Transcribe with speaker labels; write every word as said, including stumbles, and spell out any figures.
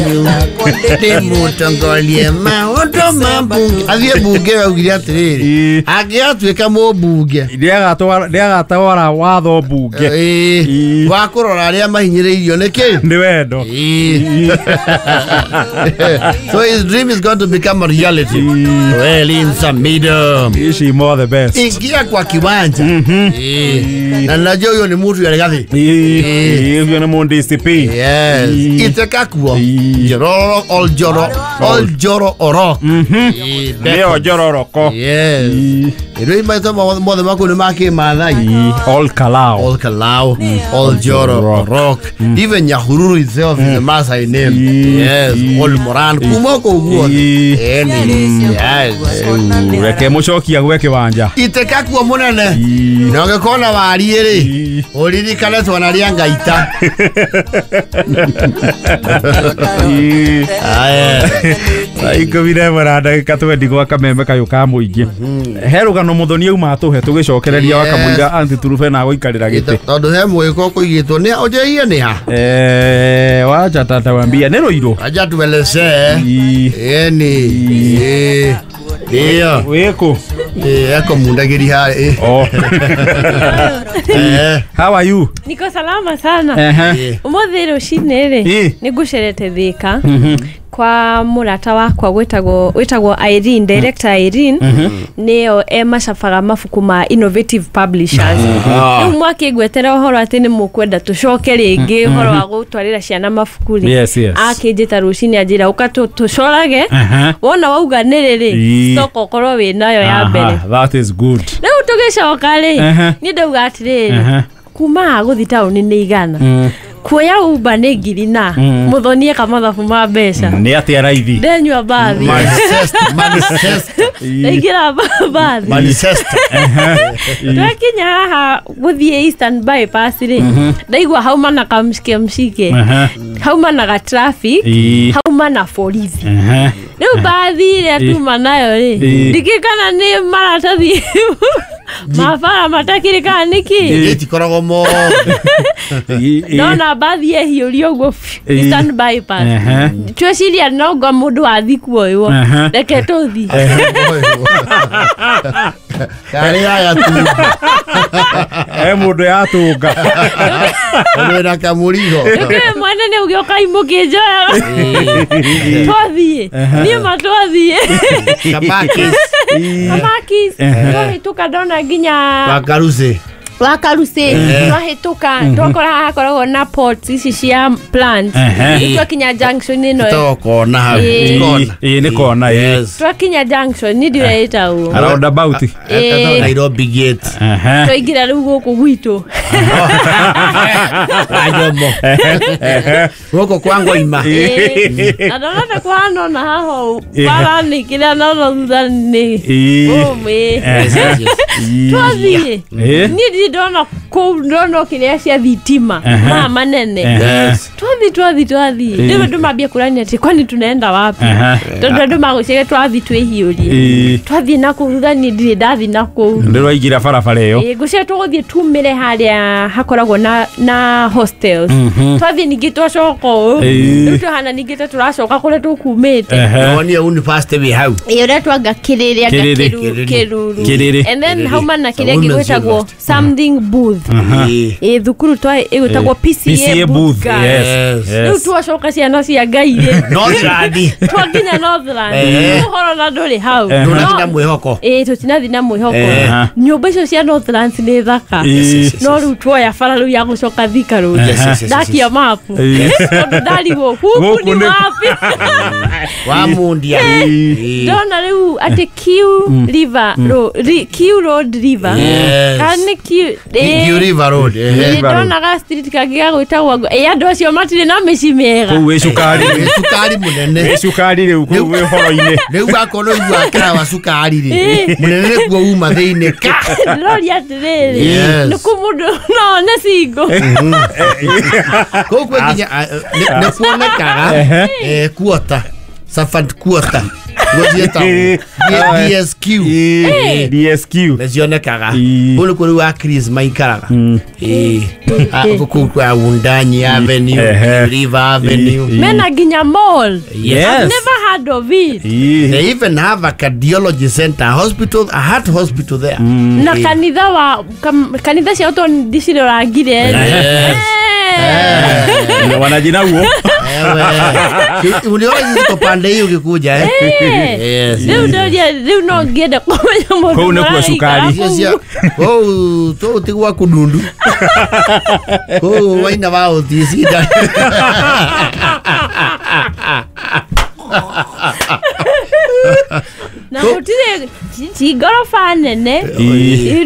Speaker 1: Ndĩ mũtongoria maũndũ ma mbunge athiĩ mbunge augire atĩrĩrĩ angĩgatuĩka mũmbunge
Speaker 2: nĩagatwara watho mbunge
Speaker 1: ĩĩ wa kũrora arĩa mahinyĩrĩirio nĩ kĩ
Speaker 2: nĩ wendo.
Speaker 1: So his dream is going to become a reality. Well, in some middle.
Speaker 2: Ici more the best.
Speaker 1: Ingia kwa kiwanja. Mm-hmm. Na najua huyo ni mtu ya Rigathi.
Speaker 2: Eh, huyo ni mu D C P.
Speaker 1: Yes. Itekakuo. Jororo all joro all joro oro.
Speaker 2: Mhm. Ndio jororoko.
Speaker 1: Yes. Ndio maitho mothe maku ni ma Maathai.
Speaker 2: All Kalau.
Speaker 1: All Kalau, all Joro Rock. Even Nyahururu itself is a Maasai name. Yes, all Moran kuma koguo. Yes.
Speaker 2: Reke mucokia gwe kiwanja.
Speaker 1: Itekakuo munene. Na ũngĩkona warie rĩ, ũririkane twanaria ngaita. Aya.
Speaker 2: Ikũmi na ĩmwe na ndagĩka twendi gwa kameme kayũ ka mũingĩ. He rũgano mũthoni auma atũhe tũgĩcokereria wa kamũira anti turube na gũikarĩra gĩtĩ.
Speaker 1: Tondũ he mwĩko kũigĩtwo nĩ ũnjĩie nĩ ha?
Speaker 2: Eh, wacha tatawambia nĩ Rũirũ.
Speaker 1: Acha tuelezee. Ĩni. Ĩ. Ndio.
Speaker 2: Wĩkũ?
Speaker 1: Eh, eko mundagiri hai.
Speaker 2: Oh.
Speaker 1: Eh.
Speaker 2: How are you?
Speaker 3: Niko salama sana.
Speaker 2: Eh.
Speaker 3: Umuthi rũcinĩ rĩ, nĩngũcerete Thika. Kwa murata wakwa gwetagwo wetagwo Irene, director Irene, nĩyo e macabaga mabuku ma Innovative Publishers. Rĩu mwakĩngwetera ũhoro atĩ nĩ mũkwenda tũcoke rĩngĩ ũhoro wa gũtwarĩra ciana mabuku rĩ.
Speaker 2: Yes, yes.
Speaker 3: Akĩnjĩta rũcinĩ anjĩra ũka tũcorage. Wona wauga nĩ rĩrĩ, stock ũkorwo wĩ nayo ya mbere.
Speaker 2: That is good.
Speaker 3: Rĩu tũgĩcoka rĩ, niĩ ndauga atĩrĩrĩ, kuma gũthiĩ taũni nĩ igana. Kuoya Uber nĩ ngiri na mũthoni eka mathabu ma mbeca.
Speaker 2: Nĩ atĩa raithi?
Speaker 3: Ndenyua bathi.
Speaker 1: Manchester.
Speaker 3: Ndaingĩra bathi.
Speaker 1: Manchester.
Speaker 3: Twakinya haha gũthiĩ Eastern Bypass rĩ, ndaigua hauma na kamshike mshike. Hauma na traffic, hauma na borithi. Rĩu bathi ĩrĩa tuma nayo rĩ, ndikĩkana nĩ maratathi mabara matakĩrĩ kana nĩkĩ?
Speaker 1: Ĩtikoragwo mothe.
Speaker 3: Ndona bathi ĩhiũrio ũguo Eastern Bypass. Tweciria no ngo mũndũ athi kuoywo. Reke tũthi.
Speaker 1: Karĩ aya tu.
Speaker 2: Eh, mũndũ yatũnga.
Speaker 1: Ũndũ na kamũrigo.
Speaker 3: Ndũkĩũĩ mwene nĩ ũgĩũka imũkĩnjoya. Twathiĩ. Niĩ ma twathiĩ.
Speaker 1: Kamakis.
Speaker 3: Kamakis. Twahĩtũka ndona nginya
Speaker 1: Wakarucĩ.
Speaker 3: Wakarucĩ. Twahĩtũka twakora hakoragwo na pots ici cia plants. Twakinya junction ĩno.
Speaker 1: Ĩtagwo kona hau.
Speaker 2: Kona. Ĩĩ nĩ kona.
Speaker 3: Twakinya junction ni ndĩrĩa ĩtagwo
Speaker 2: roundabout.
Speaker 1: Ĩtagwo Nairobi Gate.
Speaker 3: Twaingĩra rĩu gũkũ gwitũ.
Speaker 1: Ajomo. Gũkũ kwa Ngoima.
Speaker 3: Na ndona ta kũhana ona haha bara nĩ kĩrĩa nona thutha nĩ. Ũmĩ. Twathiĩ. Niĩ ndirĩ ndona kũu ndona kĩrĩa cia thitima maya manene. Twathi twathi twathi. Rĩu andũ mambia kũrania atĩ kwani tunaenda wapi? Tondũ andũ magũciria twathi twĩhiũrie. Twathiĩ na kũu thutha niĩ ndirĩ ndathi na kũu.
Speaker 2: Ndĩraingĩra barabara ĩyo.
Speaker 3: Ĩĩ ngũciria tũgũthiĩ tumĩre harĩa hakoragwo na na hostels. Twathiĩ ningĩ twacoka ũũ. Rĩu twahana ningĩ ta tũracoka kũrĩa tũkumĩte.
Speaker 1: Wonie university wĩ hau.
Speaker 3: Ĩĩ ũrĩa twanga Kĩrĩrĩ anga Kĩruru. And then hauma na kĩrĩa gĩgwĩtagwo something booth. Ĩĩ thukuru twa ĩgwĩtagwo P C A booth.
Speaker 2: Yes.
Speaker 3: Rĩu twacoka ciana cia Ngai rĩ.
Speaker 1: Northland.
Speaker 3: Twakinya Northland. Ũhoro na ndũrĩ hau.
Speaker 1: Ndũrathiĩ na mwĩhoko.
Speaker 3: Ĩĩ tũtinathiĩ na mwĩhoko. Nyũmba icio cia Northlands nĩ thaka. No rĩu tuoya bara rĩu ya gũcoka Thika Road. Ndakia mapu. Tondũ ndarigwo gũkũ nĩ wapi.
Speaker 1: Wa Mundia.
Speaker 3: Ndona rĩu atĩ Q River Road, Q Road River. Kana nĩ Q
Speaker 1: Q River Road.
Speaker 3: Ndona ga street kangĩ gagwĩtagwo ĩ andũ acio matirĩ na mĩciĩ mĩega.
Speaker 2: Kũu wĩ cukari.
Speaker 1: Wĩ cukari mũnene.
Speaker 2: Wĩ cukari rĩu kũu wĩ horo-inĩ.
Speaker 1: Rĩu wakorwo ũigua kĩra wa cukari rĩ. Mũnene nĩkuo uma thĩinĩ ka.
Speaker 3: Ndĩroria atĩrĩrĩ. Nĩ kũ mũndũ no one single.
Speaker 1: Kũu kwĩ nginya nĩ kuonekaga kuota. Servant quarter. Gũciĩtagwo D S Q.
Speaker 2: Ĩĩ, D S Q.
Speaker 1: Nĩcionekaga.
Speaker 2: Ĩĩ.
Speaker 1: Kũu nĩkuo rĩu a Chris maikaraga. Ĩĩ. Ah, kũu kwa Wundanyi Avenue,
Speaker 2: Ehe.
Speaker 1: River Avenue.
Speaker 2: Ĩĩ.
Speaker 3: Mena nginya mall.
Speaker 2: Yes.
Speaker 3: I've never heard of it.
Speaker 2: Ĩĩ.
Speaker 1: They even have a cardiology center, a hospital, a heart hospital there.
Speaker 3: Na kanitha wa kam- kanitha ciao to ndicirorangire.
Speaker 1: Yes.
Speaker 2: Na wanajina huo.
Speaker 1: Ewe. Uliona ziko pande hiyo ukikuja eh? Yes.
Speaker 3: Rĩu ndoria rĩu no ngĩenda kũmenya mũndũ
Speaker 2: Kũu nĩkuo
Speaker 3: ũraikara
Speaker 2: cukari.
Speaker 3: kũu.
Speaker 1: Icio cia kũu tũu ti gwa kũndundu. Kũu waina wa ũticinda.
Speaker 3: Na gũtirĩ ti ngoroba nene.
Speaker 2: Ĩĩ.